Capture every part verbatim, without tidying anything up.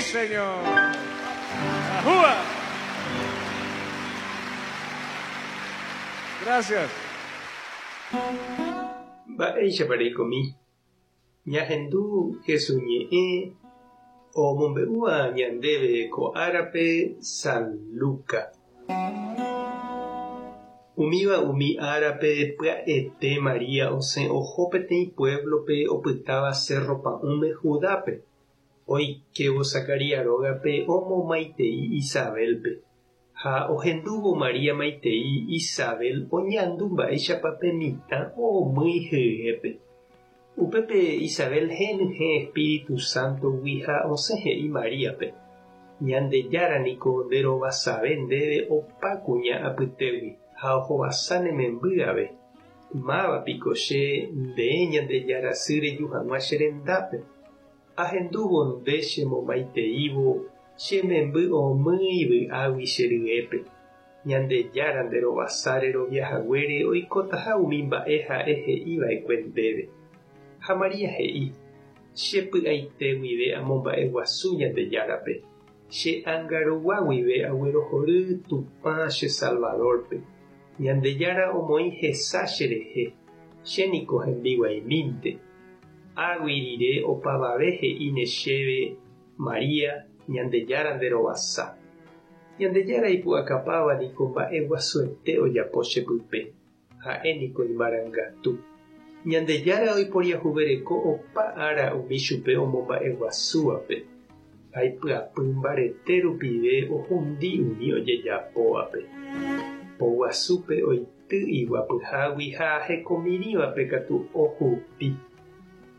señor. ¡Ajúa! Gracias. Mba'éichapa reikomi. Ñahendu Jesús ñe'ẽ omombe'úva ñandéve ko árape San Luca. Umíva umi árape pya'ete María osẽ oho peteĩ pueblope opytáva Cerro Pa'ũme Judápe. Oikévo Zacarías rógape omomaitei Isabelpe. Ha ohendúvo María maitei Isabel oñandu mba'éichapa pe mitã omýi hyépe. Upépe Isabel henyhẽ Espíritu Santogui ha osẽ he'i Maríape. Ñandejára niko nderovasave ndéve opa kuña apytégui ha ohovasa ne memby ave. Mávapiko che nde Ñandejára sy reju hag̃ua che rendápe. Ahendúvo nde chemomaiteívo che memby omýi vy'águi che ryépe. Ñandejára nderovasa reroviahaguére oikotaha umi mba'e ha'e he'iva'ekue ndéve. Ha María he'i, che py'aite guive amomba'eguasu Ñandejárape. Che ánga guive aguerohory Tupã che Salvadorpe. Ñandejára omoĩ hesa cherehe, che niko hembiguaimínte. Águi rire opavave he'íne chéve María Ñandejára nderovasa. Ñandejára ipu'akapáva niko mba'eguasuete ojapo chepype. Ha'e niko imarangatu. Ñandejára oiporiahuvereko opa ára umi chupe omomba'eguasúvape. Ha ipyapy mbarete rupive ohundi umi ojejapóvape. Poguasúpe oity iguapyhágui ha hekomirĩvape katu ohupi.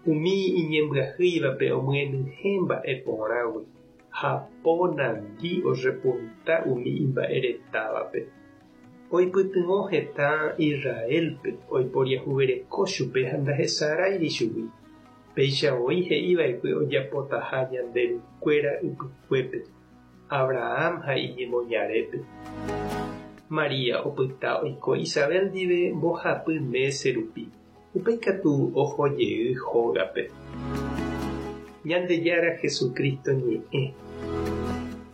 Umi iñembyahýivape omyenyhẽ mba'eporãgui ha ponandi orepunta umi imba'eretávape. Oipytyvõ heta Israelpe oiporiahuvereko chupe ha ndahesaráiri chugui. Péicha voi he'iva'ekue ojapotaha ñande rukuéra ypykuépe, Abraham ha iñemoñarépe. María opyta oiko Isabel ndive mbohapy mése rupi. Upéi katu ohojey hógape. Ñandejára Jesucristo ñe'ẽ.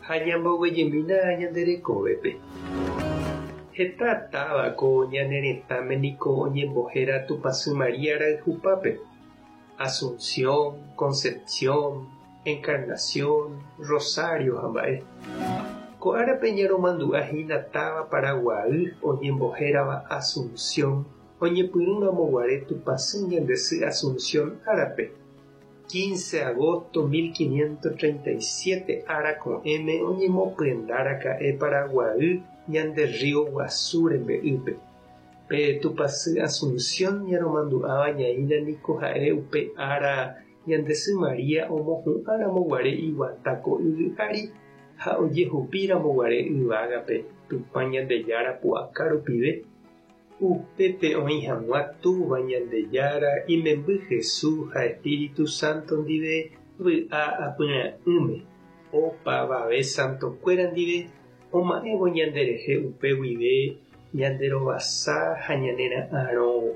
Ha ñamboguejymína ñande rekovépe. Heta táva ko ñane retãme niko oñembohéra Tupãsy María rayhupápe. Asunción, Concepción, Encarnación, Rosario ha mba'e. Ko árape ñaromandu'ahína táva Paraguay oñembohérava Asunción oñepyrũramoguare Tupãsy Ñandesy Asunción árape. quince de agosto mil quinientos treinta y siete ára ko'ẽme oñemopyendáraka'e Paraguay ñande río Guasu rembe'ýpe. Pe Tupãsy Asunción ñaromandu'áva ñaína niko ha'e upe ára Ñandesy María omohu'ãramoguare iguata ko yvy ári ha ojehupíramoguare yvágape Tupã Ñandejára pu'aka rupive. Upépe oĩ hag̃ua Túva Ñandejára imemby Jesús ha Espíritu Santo ndive vy'a apyra'ỹme. Opavave santokuéra ndive oma'ẽvo ñanderehe upe guive ñanderovasa ha ñanera'ãrõ.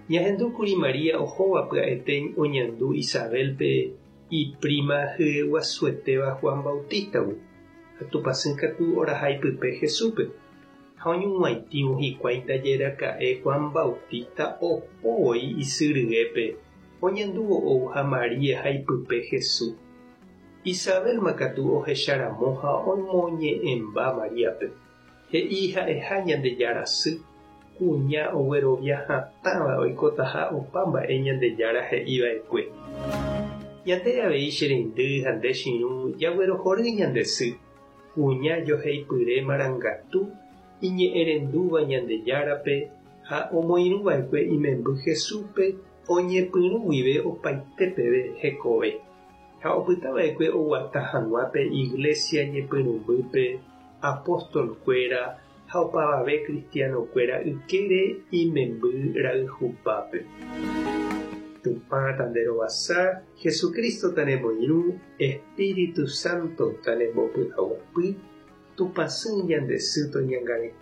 Ñahendúkuri María ohóva pya'ete oñandu Isabelpe iprima hyeguasuetéva Juan Bautistagui. Ha Tupãsy katu oraha ipype Jesúspe. Ha oñug̃uaitĩvo hikuái ndajeraka'e Juan Bautista opói isyryépe oñandúvo ouha María ha ipype Jesús. Isabel katu ohecharamo ha omoñe'ẽmba Maríape. He'i ha'eha Ñandejára sy, kuña oguerovia hatãva oikotaha opa mba'e Ñandejára he'iva'ekue. Ñande avei che reindy ha nde che irũ jaguerohory ñande sy, kuña joheipyre marangatu iñe'ẽrendúva Ñandejárape ha omoirũva'ekue imemby Jesúspe oñepyrũ guive opaite peve hekove. Ha opytava'ekue oguata hag̃ua pe iglesia ñepyrũmbýpe apóstolkuéra ha opavave cristianokuéra ykére imemby rayhupápe. Tupã tanderovasa, Jesucristo tanemoirũ, Espíritu Santo tanembopy'aguapy, Tupãsy Ñandesy toñangareko.